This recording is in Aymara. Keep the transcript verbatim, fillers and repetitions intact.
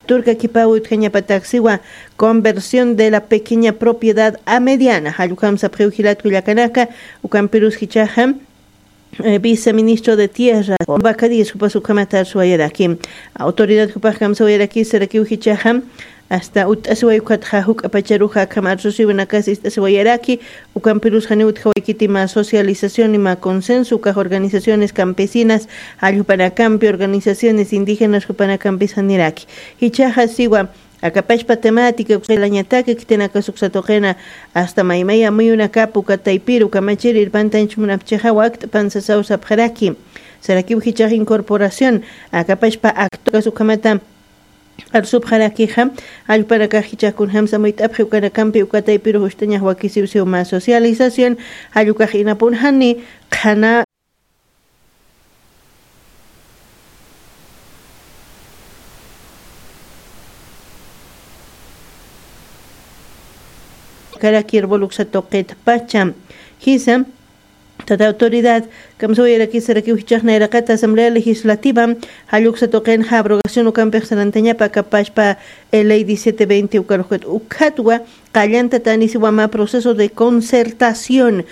Turka kipawi utjañapataksiwa conversión de la pequeña propiedad a mediana. Jallukam sapxiw jilatku llakanaka, ukampirus jichaxa, eh, viceministro de tierra, vacadillas jupas ukamatar suwayaraki. Autoridad jupax kamsawayaraki sarakiw jichaxa, hasta ut'asiway ukatxa juk'apacharuxa akam arsusiwinakas ist'asiwayaraki, ukampirus janiw utjawaykiti ma socialización ima consenso ukax organizaciones campesinas, jallupanakampi organizaciones indígenas jupanakampis janiraki. Jichaxa siwa, akapashpa temática uksalañataka kitinakas uksatuqina, hasta maymaya muyunakap ukataypiru kamachirir pantanchmunapchixa wakt'pan sasaw sapxaraki. Sarakiw jichax incorporación, akapashpa actokas ukamata arsupxarakixa, allpanakax jichax kunjamsa muyt'apxi ukanakampi ukataypiru justañax wakisiwsiw ma socialización, jallukax inapunjani, qhana karakir boluksatuqit pacha. Jisa, tata autoridad, kamsawayarakisarakiw jichaxnayraqata asamblea legislativa, jalluksatuqinxa abrogación ukampix sarantañapa kapashpa, ley diecisiete veinte ukaruxkat ukhatwa, qallanta tanisiwama proceso de concertación,